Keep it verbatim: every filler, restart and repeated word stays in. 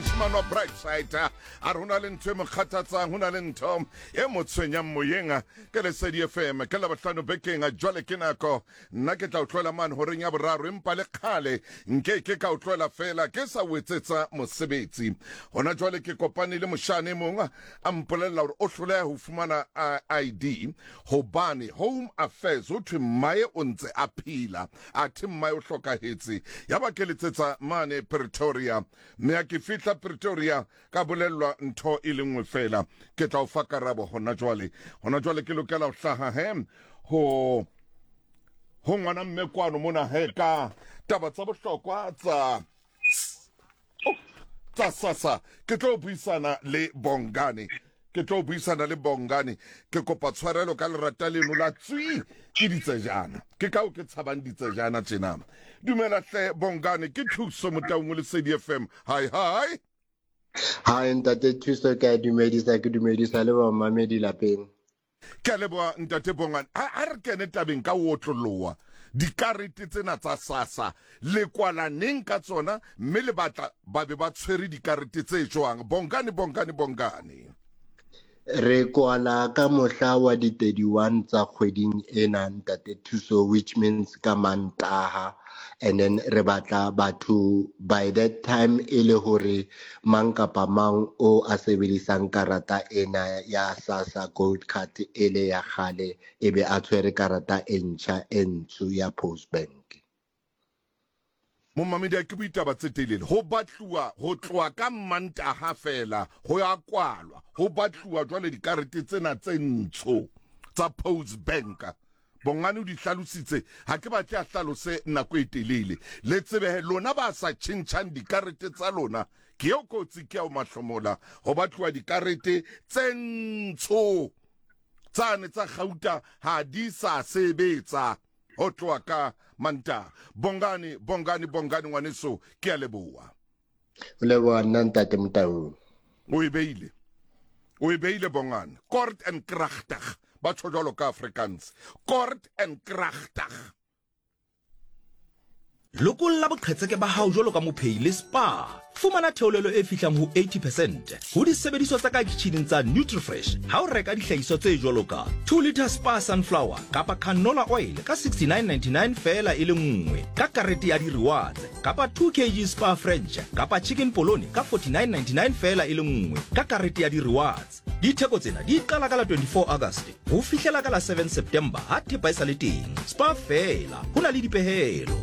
Moshemane wa Brightside a re ho na le ntho e mo kgathatsang, ho na le ntho e mo tshwenyang moyeng. Ke Lesedi F M, ke Labohlano bekeng. Jwale ke nako nna ke tla o tlohela mane horeng ya boraro, empa le kgale nke ke ka o tlohela fela ke sa o etsetsa mosebetsi. Hona jwale ke kopane le moshane e mong, a mpolella hore o hloleha ho fumana I D hobane Home Affairs ho thwe mmae o ntse a phela, athe mmae o hlokahetse. Yaba ke letsetsa mane Pretoria, mme ha ke fihla Pretoria ka bolellwa ntho e le nngwe fela. Ke tla o fa karabo hona jwale. Hona jwale ke lokela ho hlaha he ho ho ngwana mme kwano mona he ka taba tsa bohlokwa tsa oh, tsa SASSA. Ke tlo buisana le Bongane, ke tlo buisana le Bongane. Ke kopa tshwarelo ka lerata leno la tswi, ke ditsejana, ke kao ke tshabang ditsejana tjena. Dumela hle Bongane, ke Thuso Motaung, Lesedi F M. Hi hi. Hi ntate Thuso, ke a dumedisa, ke dumedisa le bamamedi lapeng. Ke a leboha ntate Bongane. A re kene tabeng ka o otloloha. Dikarete tsena tsa SASSA le kwala neng ka tsona, mme le batla ba be ba tshwere dikarete tse jwang? Bongane, Bongane, Bongane. Re kwala ka mohla wa di thirty-one tsa kgweding ena, ntate Thuso, which means ka Mantaha, and then re batla batho by that time e le hore mang kapa mang o a sebedisang karata ena ya SASSA Gold Card e le ya kgale, e be a tshwere karata e ntjha e ntsho ya Postbank. Momamedi, a ke boitaba tse telele. Ho batluwa ho tloha ka Mantaha fela ho ya kwalwa, ho batluwa jwale dikarete tsena tse ntsho tsa Post Bank. Bongane o di hlalositse, ha ke batle a hlalose nako e telele. Le tsebehe lona ba sa tjhentjhang dikarete tsa lona, ke eo kotsi, ke ao mahlomola. Ho batluwa dikarete tse ntsho, tsane tsa gauta ha di sa sebetsa ho tloha ka Mantaha. Bongane, Bongane, Bongane, ngwaneso, ke a leboha. O leboha nna, ntate Motaung. O e beile, o e beile Bongane, kort en kragtig, ba tjho jwalo ka Afrikaans, kort en kragtig. Lokolla boqhetseke ba hao jwalo ka mophei le Spar. Fumana theolelo e fihlang ho eighty percent ho disebediswa tsa ka kitjhineng tsa Nutrifresh ha o reka dihlahiswa tse jwalo ka two liter Spar sunflower kapa canola oil ka sixty-nine ninety-nine feela e le nngwe ka karete ya di-rewards, kapa two kilograms Spar French kapa chicken polony ka forty-nine ninety-nine feela e le nngwe ka karete ya di-rewards. Ditheko tsena di qala ka la twenty-four August ho fihlela ka la seven September ha thepa e sa le teng. Spar feela, ho na le dipehelo.